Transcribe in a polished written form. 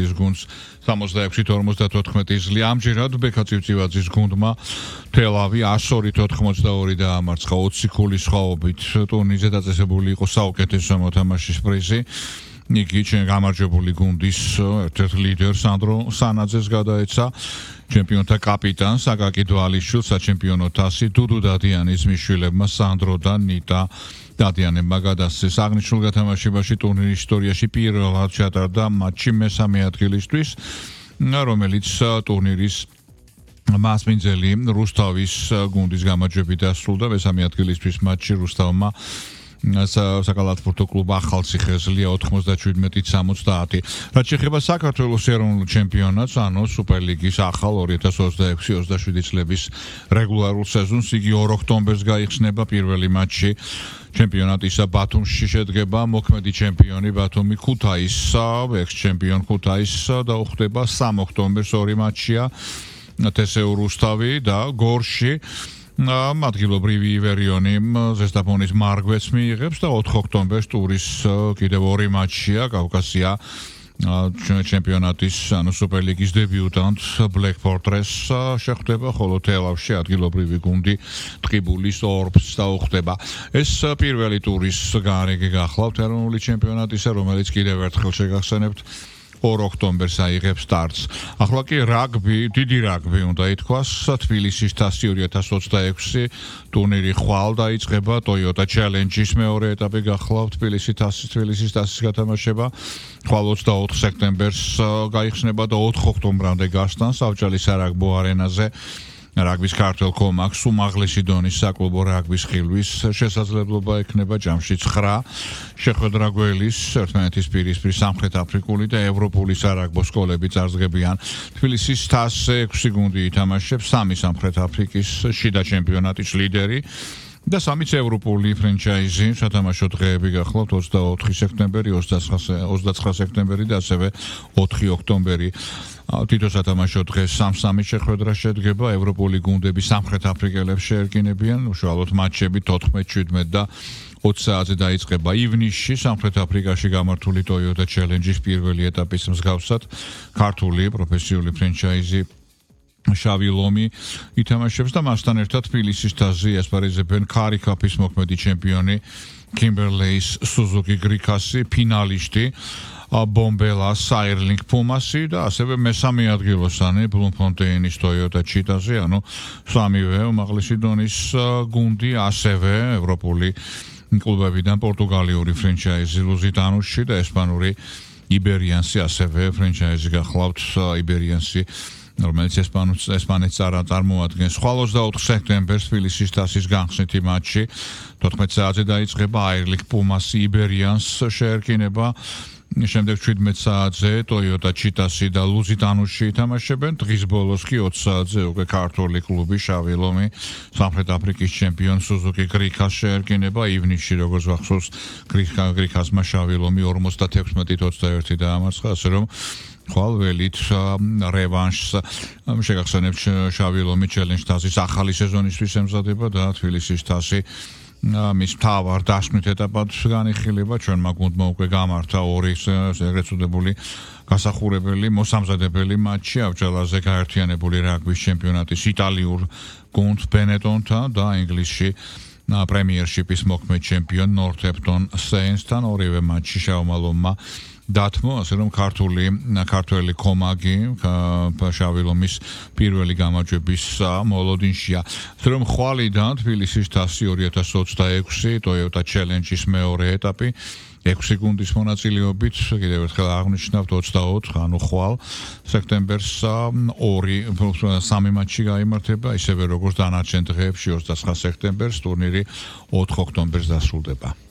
თურქეთის გუნდს 66-54 ძლია. ამჯერად ბექა წივწივაძის გუნდმა თელავი 102-82 დაამარცხა 20 ქულის სხვაობით. ტურნირზე დაწესებული იყო საუკეთესო მოთამაშის პრიზი. იგი გამარჯვებული გუნდის ერთ-ერთ ლიდერ სანდრო სანაძეს გადაეცა. ჩემპიონთა კაპიტანს აკაკი დვალიშვილს საჩემპიონო თასი დუდუ დადიანის მიშვილებმა სანდრო და ნიტა დადიანებმა გადასცეს. აღნიშნულ გათამაშებაში ტურნირის ისტორიაში პირველად ჩატარდა მატჩი მესამე ადგილისთვის, რომელიც ტურნირის მასპინძელი რუსთავის გუნდის გამარჯვებით დასრულდა. მესამე ადგილისთვის მატჩი რუსთავმა საკალათბურთო კლუბ ახალციხე-ზლია 97-70. რაც შეეხება საქართველოს ეროვნულ ჩემპიონატს, ანუ სუპერლიგის ახალ 2026-27 წლების რეგულარულ სეზონს, იგი 2 ოქტომბერს გაიხსნება. პირველი მატჩი ჩემპიონატისა ბათუმში შედგება. მოქმედი ჩემპიონი ბათუმი ქუთაისსა, ექს-ჩემპიონ ქუთაისსა და უხდება 3 ოქტომბერს ორი მატჩია. თესეუ რუსთავი და გორში ადგილობრივი ივერიონი ზესტაფონის მარგვეც მიიღებს და 4 ოქტომბერს ტურის კიდევ ორი მატჩია. კავკასია ჩემპიონატის ანუ სუპერლიგის დებიუტანტ Black Fortress შეხვდება, ხოლო თელავში ადგილობრივი გუნდი ტყიბულის ორბს დაუხდება. ეს პირველი ტურის გარეგე გახლავთ ეროვნული ჩემპიონატისა, რომელიც კიდევ ერთხელ შეგახსენებთ 2 ოქტომბერს აიღებს სტარტს. ახლა კი რაგბი, დიდი რაგბი უნდა ითქვას, თბილისის თასი 2026 ტურნირი ხვალ დაიწყება. Toyota Challenge-ის მეორე ეტაპი გახლავთ თბილისის თასის გათამაშება. ხვალ 24 სექტემბერს გაიხსნება და 4 ოქტომბრამდე გასტან საბჭალის სარაგბო არენაზე. რაგბის ქართველ კომაკს უმაღლესი დონის საკლუბო რაგბის ხილვის შესაძლებლობა ექნება. ჯამში 9 შეხვედრა გველის ერთმანეთის პირისპირ სამხრეთ აფრიკული და ევროპული სარაგბო სკოლები წარსდგებიან. თბილისის თასზე 6 გუნდი ითამაშებს, 3 სამხრეთ აფრიკის შიდა ჩემპიონატის ლიდერი და 3 ევროპული ფრენჩაიზი. სათამაშო დღეები გახლავთ 24 სექტემბერი, 29 სექტემბერი და ასევე 4 ოქტომბერი. თითო სათამაშო დღეს 3-3 შეხვედრა შედგება. ევროპული გუნდები სამხრეთ აფრიკელებს შეერკინებიან. უშუალოდ მატჩები 14-17 და 20 საათზე დაიწყება. ივნისში სამხრეთ აფრიკაში გამართული Toyota Challenge-ის პირველი ეტაპის მსგავსად ქართული პროფესიული ფრენჩაიზი შავი ლომი ითამაშებს და მასთან ერთად თბილისის თასზე ასპარეზებენ ქარიქაფის მოქმედი ჩემპიონი Kimberley's Suzuki Gricasi, ფინალისტი Bombelas Airlink Pumasi და ასევე მესამე ადგილოსანი Bloemfonteinis Toyota Cheetah-ზე, ანუ სამივე უმაღლესი დონის გუნდი, ასევე ევროპული კლუბებიდან პორტუგალიური ფრენჩაიზი Lusitanuში და ესპანური Iberiansi, ასევე ფრენჩაიზი გახლავთ Iberiansi, რომელიც ესპანეთს წარმოადგენს. ხვალ 24 სექტემბერს თბილისის თასის განხსნითი მატჩი 14 საათზე დაიწყება. Airlink Pumasi Iberians შეერკინება. შემდეგ 17 საათზე Toyota Cheetah-ი და Lusitanuში ითამაშებენ. დღის ბოლოს კი 20 საათზე უკვე ქართული კლუბი შავი ლომი სამხრეთ აფრიკის ჩემპიონ Suzuki Gricas შეერკინება. ივნისში როგორც ვახსოვს Gricasმა შავი ლომი 56-21 დაამარცხა, ასე რომ ხვალ ველით რევანშს შეგახსენებთ. შავი ლომი Challenge თასის ახალი სეზონისთვის ემზადება და თბილისის თასი მის მთავარ დასკვნით ეტაპად განიხილება. ჩვენმა გუნდმა უკვე გამართა 2 ეგრეთ წოდებული გასახურებელი მოსამზადებელი მატჩი ავჭალაზე გაერთიანებული რაგბის ჩემპიონატის იტალიურ გუნდ Benetton-თან და ინგლისში პრემიერშიპის მოქმედ ჩემპიონ Northampton Saints-თან. ორივე მატჩი შავმა ლომმა დათმო, ასე რომ ქართველი კომაგი შავი ლომის პირველი გამარჯვების მოლოდინშია. ასე რომ ხვალიდან თბილისის თასი 2026 Toyota Challenge-ის მეორე ეტაპი 6 გუნდის მონაწილეობით კიდევ ერთხელ აღნიშნავთ 24, ანუ ხვალ სექტემბერს 3 მატჩი გაიმართება, ისევე როგორც დანარჩენ დღეებში 29 სექტემბერს ტურნირი 4 ოქტომბერს დასრულდება.